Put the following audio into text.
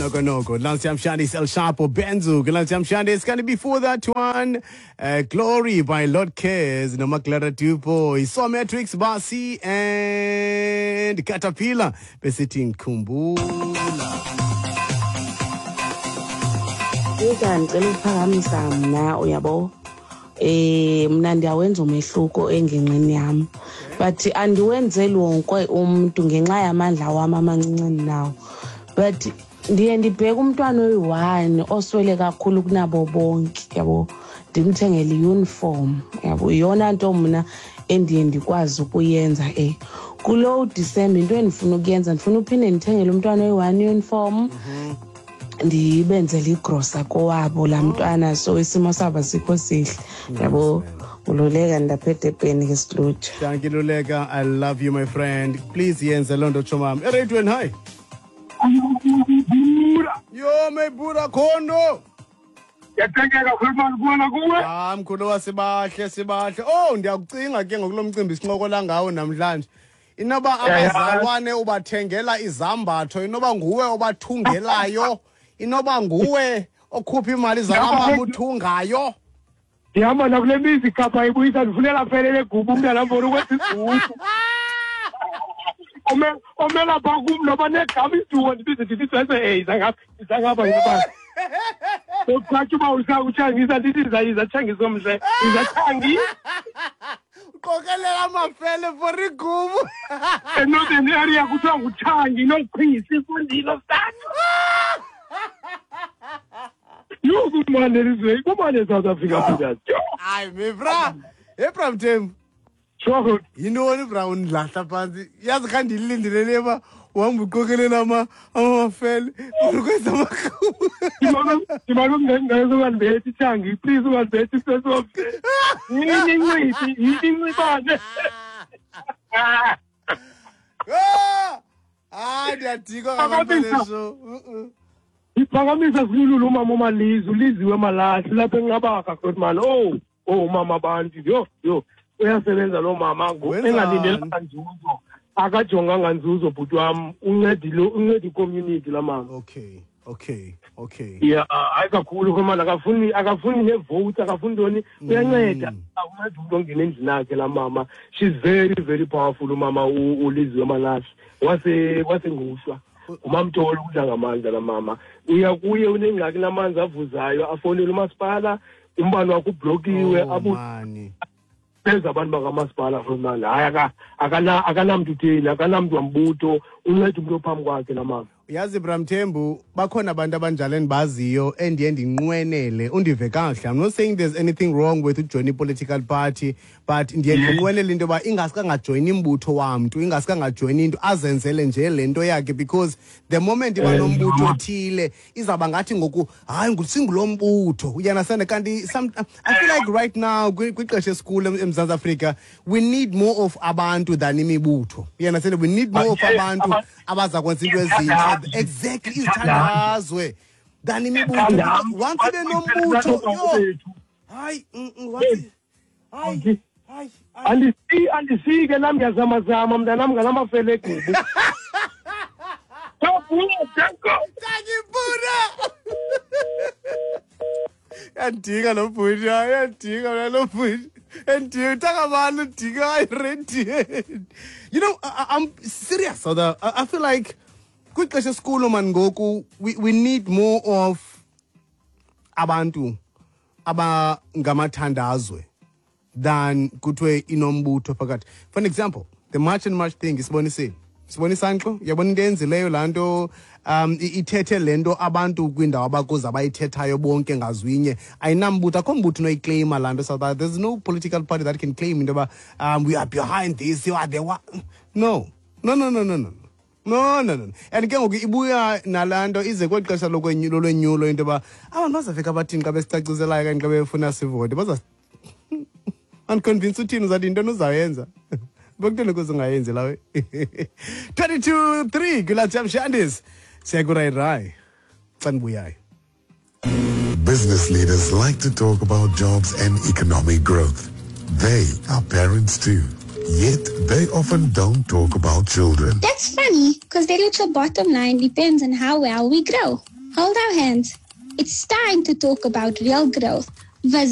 Noko Noko. Lansiam Shandis El Chapo Benzu. Lansiam Shandis. Gonna before that one, Glory by Lord Cares. Nomaklara Dupo. So Matrix Basi and Caterpillar. Besithi Kumbula. Ika ndicela ukuphakamisa mna, uyabo, mna ndiyawenza umehluko engingqini yam, but andiwenzeli wonke umntu ngenxa yamandla wam amancinci ndinawo, but ndiye ndibheke umntwana oyi-one oswele kakhulu kunabo bonke, yabo, ndimthengele i-uniform, yabo. Yiyona nto mna endiye ndikwazi ukuyenza. Kulo Disemba into endifuna ukuyenza, ndifuna uphinde ndithengele umntwana oyi-one uniform, ndibenzele igrosa kowabo laa mntwana, so isimo sabo asikho sihle, yabo. Ululeka ndapha eDurban ke, silutsha. Thank you, Luleka. I love you, my friend. Please yenze loo nto, tshomam. Eradweni, hi. Yo, my bura khondo. Yathengeka khulumani kubona kuwe. Ah, mkhulu wasibahle, sibahle. Oh, ndiyakucinga ke ngokulo mcimbi sincokola ngawo namhlanje. Inoba abazalwane ubathengela izambatho, inoba nguwe obathungelayo, inoba nguwe okhupha imali zalamama uthungayo. Ndihamba nakule mizi Kapa ibuyisa, ndifunela fele legubu umntana mbona ukwenza igubu. Omela pha kum noba negama isiduko ndibize ndithi sese izangapha izangapha ngibani. Uthatha uba utshangisa ndithi iza tshangisa omhle iza tshangi. Uqokelela amafele for igubu. ENorthern Area kuthiwa nguTshangi noQhisi ifundile start. Yho, kumane elizweni, kumane eSouth Africa, Peters. Hayi, me bra. Hey, bra Mthembu. Sure. Yintoni bra undilahla phantsi? Yazi kha ndilindele le uba uhamba uqokelela amafele ukwenza amagubu. Ndimane ungengeza ungandibethi Tshangi, please ungandibethi sesomhle. Yini inciphi, yini incibane. Ah! Hayi, ndiyadikwa ngabantu Phakamisa. show. Iphakamisa silululu umama uMalizi, uLiziwe Malahli lapha eNqabaka Grootman. Oh, umama abantu, yho yho, uyasebenza lo mama Wenzani? engalindelanga nzuzo. Akajonganga nzuzo bhuti wam, uncedile, unceda i-community la mama. Okay. Yeah, hayi kakhulu Grootman, akafuni ne-votes, akafuni ntoni, uyanceda. Unceda umntu ongena endlini yakhe laa mama. She's very very powerful umama uLiziwe Malahli. Wasengushwa. Ngumamtolo udla ngamandla laa mama. Uya kuye unengxaki namanzi avuzayo, afowunele umasipala, umbane wakhe ublokiwe, Oh, mani. beza abantu bakamasipala Grootman. Hayi, akanamntu utheni, akanamntu wambutho, unceda umntu ophambi kwakhe laa mama. Yazi bra Mthembu, bakhona abantu abanjalo endibaziyo endiye ndinqwenele undive kakuhle. I'm not saying there's anything wrong with ujoin i-political party, but ndiye ndinqwenele into yoba ingaske angajoyini imbutho wamntu, ingaske angajoyini into, azenzele nje le nto yakhe, because the moment iba nombutho othile izawuba ngathi ngoku hayi singulo mbutho, uyanasana. Kanti I feel like right now kwixesha esikulo eMzantsi Afrika we need more of abantu than imibutho, uyanasana. We need more of abantu abaza kwenza into ezintle, exactly, izithandazwe than imibutho. Once ibe nombutho, yho, hayi, once hayi hayi. Andisike nam, ndiyazamazama mntanam ngalamafele egubu. Tangibuna. Yandika lo bhuti, yandika mna lo bhuti. Endika utakabani udika erediyeni. You know, I'm serious, South. I feel like kwixesha esikulo man ngoku we need more of abantu abangamathandazwe than kuthiwe inombutho phakathi. For an example, the March and March thing isibonisile. Sibonisa nxo, uyabona into eyenzileyo laa nto, ithethe le nto abantu kwiindawo abakuzo abayithethayo bonke ngazwinye. Ayinambutho, akho mbutho unoyikleyima laa nto. South Africa, there's no political party that can claim into yoba we are behind this, you are the one. No, no, no, no, no, no. No, no, no. And ke ngoku ibuya nalaa nto ize kweli xesha lolwenyulo into yoba abantu bazafika bathini xa besicaciselayo okanye xa befuna sivote. Baza unconvince uthini uzathi yintoni uzawuyenza. Bekutheni ukuze ungayenzi lawe? 22-3 kula Shandis. Siya kurayi xa ndibuyayo. Business leaders like to talk about jobs and economic growth. They are parents too. Yet they often don't talk about children. That's funny, because their little bottom line depends on how well we grow. Hold our hands. It's time to talk about real growth. Visit